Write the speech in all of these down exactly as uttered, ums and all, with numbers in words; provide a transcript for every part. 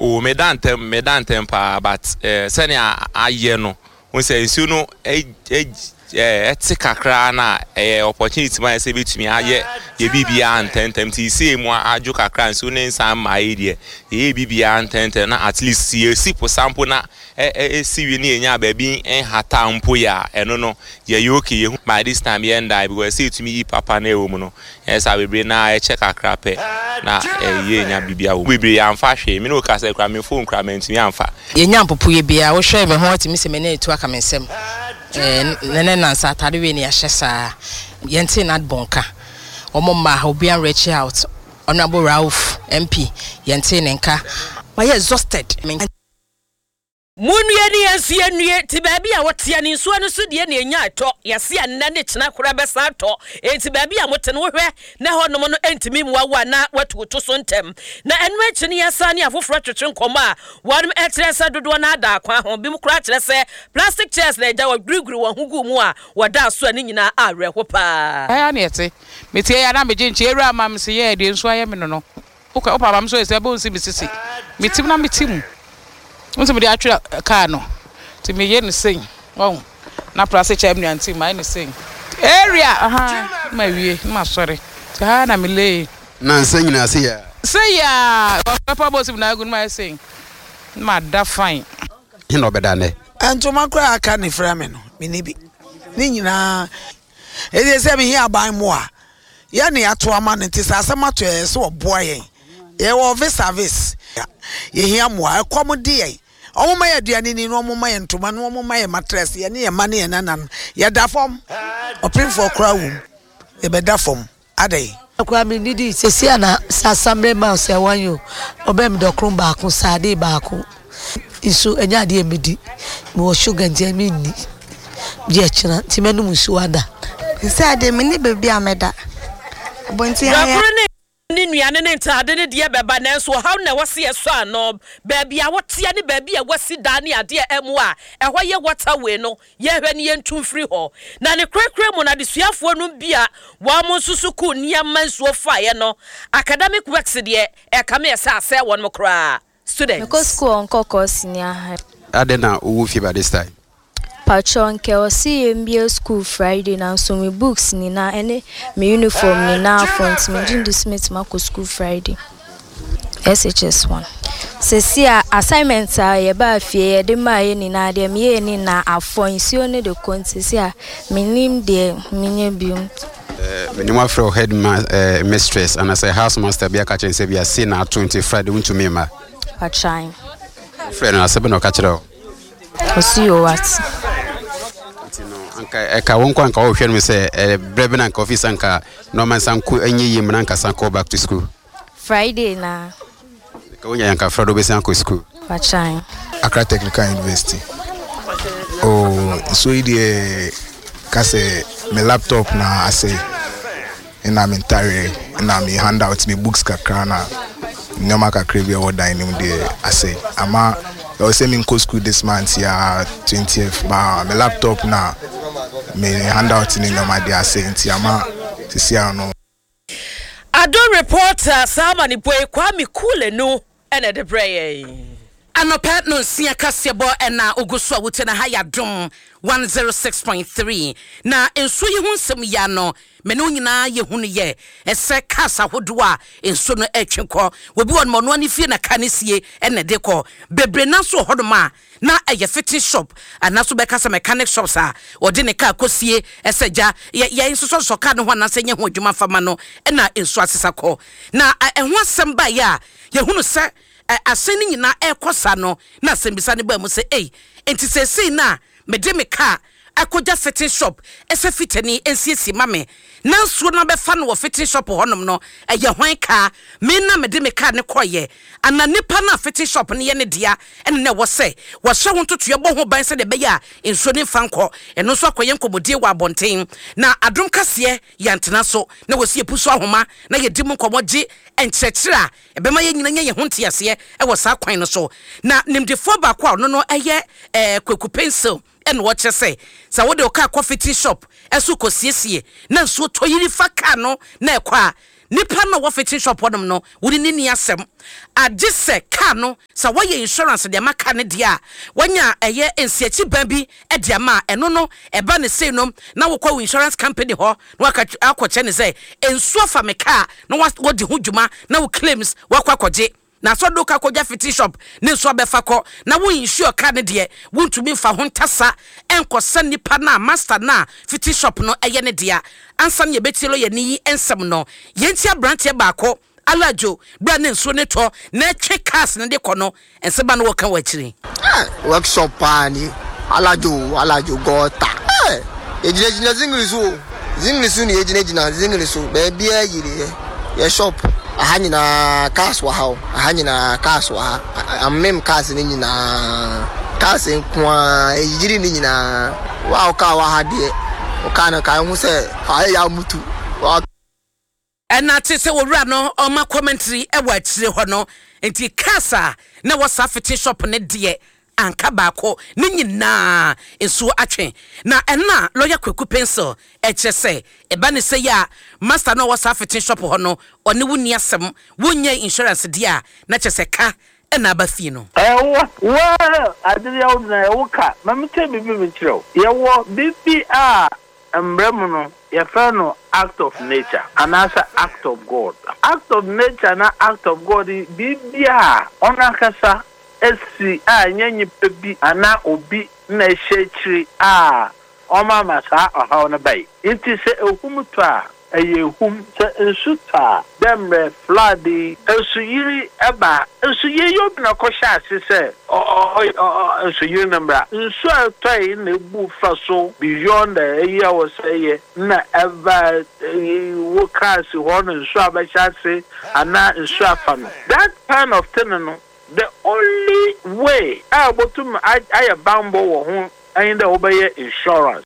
O, meda ntɛm, meda ntɛm paa, but eh, sɛnea ayɛ no wo sɛ nsuo no ɛte kakra na ɛyɛ opportunity ma yɛ sɛ bɛtumi ayɛ yɛ biribiara ntɛntɛm. Nti sei mu adwo kakra, nsuo ne nsa mma yi deɛ, yɛyɛ biribiara ntɛntɛm na at least yɛsi po sampo na ɛsi wie ne yɛnya baabi nhata mpo yɛ a, ɛno no yɛyɛ okay. Yɛhu by this time yɛn die because ɛsɛ yɛtumi yi papa na ɛwɔ mu no, ɛyɛ sɛ bebree na ɛkyɛ kakra pɛ na ɛyɛ nya biribiara wɔ mu. Bebree yɛamfa hwee. Me ne wo kasa kura me phone kura mantumi amfa. Yɛnya mpopoeɛ biara, wohwɛ me ho atumi sɛ m'ani atu aka me nsam. Nene nansa atade wei ne yɛahyɛ saa. Yɛnte n'adbɔn ka ɔmo mma ha, obiara reach out. Honourable Rauf M P, yɛnte ne nka. Mayɛ exhausted. Munnue ne yɛn nso yɛnnue. Nti baabi a wɔteɛ ne nsuo no so deɛ ne ɛnya atɔ, yɛse ɛnnɛ ne kyena koraa bɛsan atɔ. Enti baabi a mote no, wohwɛ na hɔnom no ntumi mmoa wo a, na watu to so ntɛm. Na ɛno akyi no, yɛsan ne afoforɔ twetwe nkɔmmɔ a wɔnom ɛkyerɛ sɛ dodoɔ no ada akwan ho bi mu koraa, kyerɛ sɛ plastic chairs na agya wɔguriguri wɔn ho gu mu a wɔda so a ne nyinaa awerɛho paa. Ɛyɛ ne yɛte metie yɛ na megye nkyɛ ewura ama me sɛ yɛ deɛ nsuo ayɛ me no no wokɔ wopa ma me so yɛ sɛ ɛbɛn si me sisi metim na meti mu nso mede atwerɛ kaa no, nti meyɛ ne sei ɔho na plastic chair me nua nti mayɛ ne sei area aha na ma wie na ma sɔre, nti ha na melee. Na nsa nyinaa se yɛ. Sei a ɔpɛ bɔ si mu na agu no, ma yɛ sei na ma da fine. He na ɔbɛda nnɛ? Ntoma koraa aka ne frɛ me no, menni bi ne nyinaa. Ɛdeɛ sɛ mehia aban mu a yɛne ato ama no, nti sɛ asɛm ato yɛ sɛ ɔboa yɛn. Yɛwɔ vis a vis, yɛhia mmoa. Ɛkɔm de yɛn. Ɔmo ma yɛ aduane ni na ɔmo ma yɛ ntoma na ɔmo ma yɛ mattress. Yɛne yɛ mma ne yɛ nananom yɛda fam, ɔpemfoɔ koraa wom, yɛbɛda fam adɛn? Akora mi nidi sisi ana sɛ asamire ma sɛ wɔn yi o, ɔbɛn mi dɔkono baako, saade baako nso ɛnyɛ adeɛ mi di. Mi wɔ sugar nti mi nni gye ɛkyina, nti mɛnum nsuo ada. Sɛ ade me ne baabi a mɛda abɔnten ayɛ. Dɔkoro ne ne nnuane ne ntaade ne deɛ bɛba, nanso ɔhaw na ɛwɔ se yɛsɔ ano. Baabi a woteɛ ne baabi a wɔasi dan ne adeɛ ɛmu a ɛhɔ yɛ waterway no, yɛhwɛ ne yɛntu mfiri hɔ. Na ne korakora mu no, adesuafoɔ no bi a wɔn mo nso sukuu nneɛma nsuo faeɛ no, academic works deɛ, ɛkame ɛsɛ asɛ wɔn koraa students. Mekɔ school wɔ Nkɔkɔɔ Senior High. Adɛn na wowɔ fie by this time? Patro, nkɛ ɔsi yɛn bie school Friday, nanso me books nyinaa ɛne me uniform nyinaa afɔ, nti me gye ndi so metumi akɔ school Friday. S H S one. Sisi a assignment a yɛbaa fie yɛde maa yɛ nyinaa deɛ, meyɛɛ ne nyinaa afɔ, nsuo ne de kɔ, nti sisi a menim deɛ menyɛ bio. Menim afrɛ wo head ma, eh, mistress anaasɛ house master bi aka kyerɛ sɛ bia sei na ato, nti Friday wontumi mma? Patran. Wofrɛ no, asɛ bɛ na ɔka kyerɛ wo? Ɔsi yɛ wate. Nti no anka ɛka wo nkɔ, anka wɔhwɛ no sɛ eh, berɛ bi na anka office anka nɔɔma nsa nko ɛnyɛ yie mu na anka san kɔ back to school. Friday na. Ka wonya anka Friday wobɛsan akɔ school. Patran. Accra Technical University. Oh, nsuo yi deɛ, ka sɛ me laptop na asɛe, ɛna me ntareɛ, ɛna me handout, me books kakra, na nneɛma kakra bi a ɛwɔ dan no mu deɛ asɛe. Ama ɛwɔ sɛ menkɔ school this month ya twentieth ba, me laptop na me handout ne nneɛma deɛ asɛe, nti ama sisi ano. Adom reporter Salma ne boy Kwame Kulenu ɛna ɛde brɛ yɛn. Anɔpɛ no nsia kaseɛbɔ ɛna ogu so a wote na ha yɛ Adom one oh six point three. Na nsuo yi ho nsɛm ya no, me ne wo nyinaa yɛhu no yɛ ɛsɛ cars ahodoɔ a nsuo no ɛtwe kɔ. Obi wɔ nom, ɔno ani fie na car no sie ɛna ɛde kɔ. Bebree na nso wɔ hɔnom a na ɛyɛ fitting shop anaasɛ bɛka sɛ mechanic shops a ɔde ne car kɔsie ɛsɛ gya yɛ yɛn nsosɔsosɔ car no ho anaasɛ nyɛ ho adwuma fama no, ɛna nsuo asesa kɔ. Na ɛho asɛm baeɛ a yɛhunu sɛ asɛn no nyinaa ɛrekɔ sa no, na asɛmbisa no baa mu sɛ, ei, nti seesei no a mede me car akɔgya fitting shop ɛsɛ fitani nsiesie ma me na nsuo no abɛfa no wɔ fitting shop hɔnom no, ɛyɛ hwan kaa? Me na mede me car ne kɔɔyɛ ana nipa no a fitting shop no yɛ ne dea, ɛne na ɛwɔ sɛ wɔhyɛ ho ntotoeɛ bɔ ho ban sɛdeɛ ɛbɛyɛ a nsuo no mfa nkɔ? Ɛno nso akɔyɛ nkɔmmɔdie wɔ abɔnten. Na Adom kaseɛ yɛntena so na wɔsi epu so ahoma na yɛdi mu nkɔmmɔ gye nkyerɛkyerɛ a ɛbɛma yɛn nyina nya yɛn ho nteaseɛ ɛwɔ saa kwan no so. Na nimdefoɔ baako a ɔno no ɛyɛ ɛɛ Kwaku Pencil, ɛna wɔkyerɛ sɛ sɛ wode wo kaa kɔ fitting shop ɛso kɔsiesie na nsuo tɔ yiri fa kaa no na ɛkɔ a, Nipa no wɔ fitting shop hɔnom no, wode ne ni asɛm agye sɛ car no sɛ wɔyɛ insurance de ama car no deɛ a, wɔnya ɛyɛ nsiakyi ban bi de ama a, ɛno no ɛba ne sei no na wokɔ wo insurance company hɔ na waka akɔkyɛ ne sɛ nsuo fa me car, na wɔdi ho dwuma na wo claims wakɔ akɔgye. Na sɛ ɔde ka kɔgya fitting shop ne nso abɛfa kɔ na wo insure car no deɛ, wontumi mfa ho ntasa ɛnkɔsɛ nipa no a master no a fitting shop no ɛyɛ ne dea. Ansa no yɛbɛtie lɔyɛ ne yi nsɛm no, yɛnti aberanteɛ baako Alajo bere a ne nsuo ne tɔ na ɛtwe cars no de kɔ no, nsɛm a no wɔka wɔ akyiri. Workshop paa ni Alajo, Alajo gutter. Yɛgyinagyina zingiri so o, zingiri so ne yɛgyinagyina zingiri so, baabiara yiri yɛ yɛ shop aha nyinaa, cars wɔ ha o, aha nyinaa cars wɔ ha, amem cars ne nyinaa, cars nko ara ɛyiri ne nyinaa. Wa wo car wɔ ha deɛ, wo car no ka ho sɛ ayɛ yɛ amutu wa. Ɛna te sɛ wɔwura no ɔma commentary ɛwɔ akyire hɔ no, nti cars a na wɔ saa fitting shop ne deɛ, anka baako ne nyinaa nsuo atwe. Na ɛna lɔya Kwaku Pencil ɛkyerɛ sɛ ɛba ne sɛ yɛ a, master no a ɔwɔ saa fitting shop hɔ no, ɔne wo ni asɛm, wonyɛ insurance deɛ a, na kyerɛ sɛ ka ɛna aba fie no. Ɛwɔ wɔ adeɛ a na ɛwɔ ka ma mi tɛ bibi mi kyerɛw, yɛwɔ bibi a mbrɛ mu no yɛfrɛ no act of nature anaasɛ act of God. Act of nature na act of God yi, biribi a ɔno ankasa esi a ɛnyɛ nyimpa bi anaa obi na ɛhyɛ akyiri a ɔma ama saa ɔhaw no bae. Nti sɛ ehum tɔ a, ɛyɛ ehum, sɛ nsu tɔ a, dɛ mmerɛ flood yi, nsuyiri ɛba, nsuyiri yi, obi na ɔkɔhyɛ ase sɛ ɔ ɔ ɔ nsuyiri no mbra, nsu a ɛtɔ yi na ebu fa so beyond ɛyi a wɔsɛ yɛ na ɛba ɛyi wo cars hɔ no, nsu a bɛhyɛ ase anaa nsu afa no, that kind of thing no, the only way a wɔtum ayɛ bambɔ wɔ ho ɛyin dɛ wɔbɛyɛ insurance.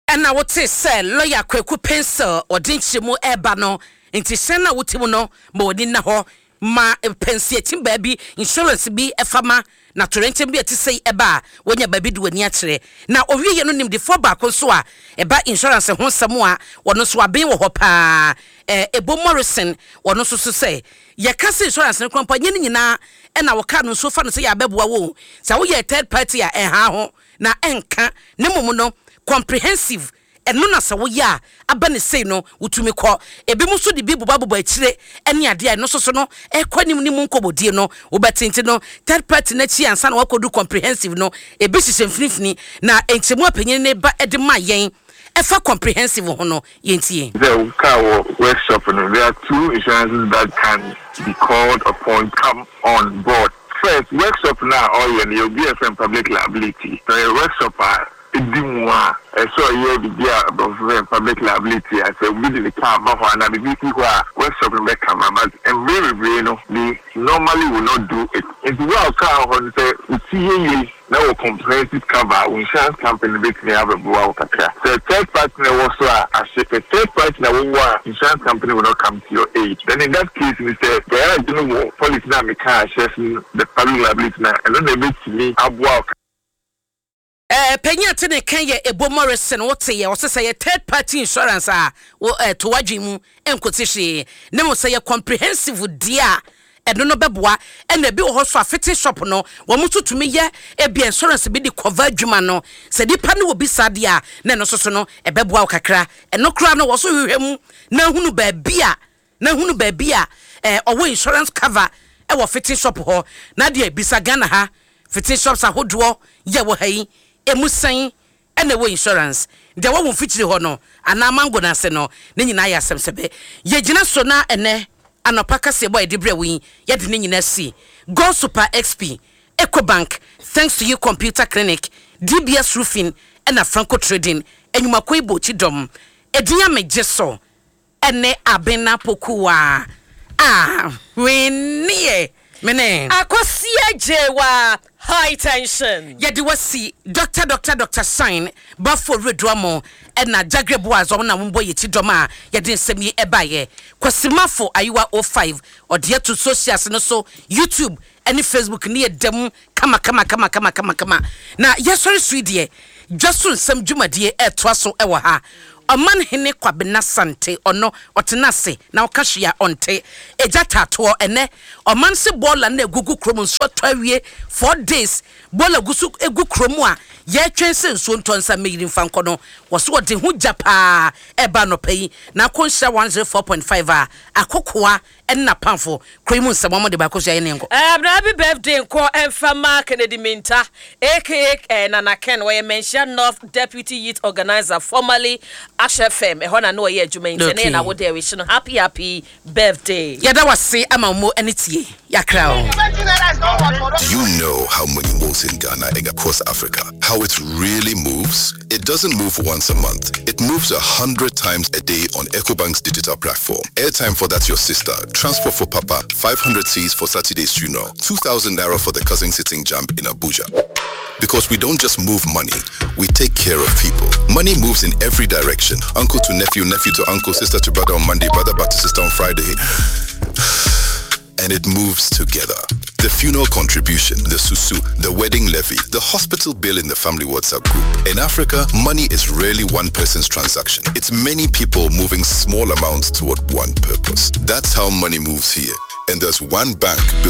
Ɛna wote sɛ lɔya Kwaku Pencil ɔde nkyerɛmu ɛreba no, nti hyɛn no a wote mu no, ma wɔni nna hɔ ma pɛnsiakyi baabi insurance bi ɛfa ma na torɛnkyɛm bi a ɛte sɛ ɛba a, wɔnya baabi de w'ani akyerɛ. Na owieɛ no, nimdefoɔ baako nso a ɛba insurance ho nsɛm a wɔno nso aben wɔ hɔ paa, ɛɛ Ebo Morrison, wɔno nso so sɛ yɛka sɛ insurance no kora nyɛ ne nyinaa ɛna wɔka no nso fa no sɛ yɛabɛboa wo sɛ woyɛ third party a ɛha ho na ɛnka ne mmom no comprehensive, ɛno na sɛ woyɛ a, aba ne sei no wotumi kɔ. Ebi mu nso de bi bobabobɔ akyire ɛne adeɛ a ɛno nso so no ɛkɔ anim ne mu nkɔmmɔdie no wobɛtente no third party n'akyi ansa na wakɔdu comprehensive no. Ebi hyehyɛ mfinimfini na nkyɛmu apanyin ne ba ɛde ma yɛn ɛfa comprehensive ho no, yɛntie. The car workshop, no, there are two insurances that can be called upon come on board. First, workshop now, oh yeah, you'll be a friend public liability. So a workshop uh, edi mu a ɛsɛ ɔyɛ biribi a aborɔfo fɛ public liability a, sɛ obi de ne car ba hɔ anaa biribi si hɔ a, workshop no bɛka ma, but mmerɛ bebree no, they normally will not do it. Nti wo a car hɔ no, sɛ oti yɛ yie na wɔ comprehensive cover, wo insurance company bɛtumi abɛboa wo kakra. Sɛ third party na ɛwɔ so a ahye, sɛ third party na wɔwɔ a, insurance company will not come to your aid. Then in that case ni, sɛ garage no wɔ policy na meka ahyɛ so, the public liability, na ɛno na ɛbɛtumi aboa wo. Ɛɛ panyin ate ne kan yɛ Ebo Morrison, wote yɛ ɔsɛ sɛ yɛ third party insurance a wo ɛɛ to wadwi mu nkote hwee ne mo, sɛ yɛ comprehensive deɛ a, ɛno no bɛboa. Ɛna ebi wɔ hɔ so a, fitting shop no, wɔn nso tumi yɛ ebi insurance bi de cover adwuma no, sɛ nipa no wɔ bi saa deɛ a, na ɛno nso so no ɛbɛboa wo kakra. Ɛno koraa no, wɔ so hwehwɛ mu na ehunu baabi a na ehunu baabi a ɛɛ ɔwɔ insurance cover ɛwɔ fitting shop hɔ. Na deɛ bisa Ghana ha fitting shops ahodoɔ yɛ wɔ ha yi, emu sɛn ɛna ɛwɔ insurance? Deɛ wɔwɔ mfikyiri hɔ no anaa mango no ase no, ne nyinaa yɛ asɛm sɛbɛ yɛgyina so. Na ɛnɛ anɔpa kaseɛ bɔ a yɛde brɛ wo yi, yɛde ne nyinaa si Gold Super X P, Ecobank, Thanks to You Computer Clinic, D B S Roofing, ɛna Franco Trading enyimako ibo kyidɔm edin amegye so ɛne Abena Pokuwa a hweneɛ mene. Akɔsia Gyewa High Tension. Yɛde wasi Doctor Doctor Doctor Shine Bafo Reduamo ɛna Jagre Boaz, ɔmo na wɔn bɔ yɛ ti dɔm a yɛde nsɛm yi ɛbaayɛ. Kwasimafo Ayiwa oh five ɔde ato socials no so, YouTube ɛne Facebook ne yɛ dɛm kama kama kama kama kama kama. Na yɛsɔre so yi deɛ, dwa so nsɛm dwumadie ɛɛtoa so ɛwɔ ha. Ɔmanhene Kwabena Sante, ɔno ɔtena ase na ɔka hwee a ɔnte. Egya taatoɔ ɛnɛ ɔman se bɔɔla no egugu kurom, nsuo atɔ awie four days, bɔɔla gu so egu kurom a yɛretwɛn sɛ nsuo ntɔ nsa mmɛyiri mfa nkɔ no. Wɔso wɔde ho gya paa ɛba anɔpa yi na akɔ Nhyira one zero four point five a akokoa ɛne napamfo kuro yi mu nsɛm wɔn de baako so ayɛ ne nkɔ. Um, na happy birthday nkɔ ɛmfama Kennedy Minta, aka eh, Nana Ken. Wɔyɛ Manhyia North Deputy Youth Organizer, formerly Ash F M. Ɛhɔ na na ɔyɛ adwuma yi, nti ɛnɛ yɛ na wode ɛwish no happy happy birthday. Yɛda wase ama mo ani tie yakra o. Do you know how money moves in Ghana and across Africa? How it really moves? It doesn't move once a month. It moves a hundred times a day on EcoBank's digital platform. Airtime for that your sister, transport for papa, five hundred cedis for Saturday's funeral, two thousand naira for the cousin sitting JAMB in Abuja. Because we don't just move money, we take care of people. Money moves in every direction. Uncle to nephew, nephew to uncle, sister to brother on Monday, brother back to sister on Friday, and it moves together. The funeral contribution, the susu, the wedding levy, the hospital bill in the family WhatsApp group. In Africa, money is rarely one person's transaction. It's many people moving small amounts toward one purpose. That's how money moves here. And there's one bank built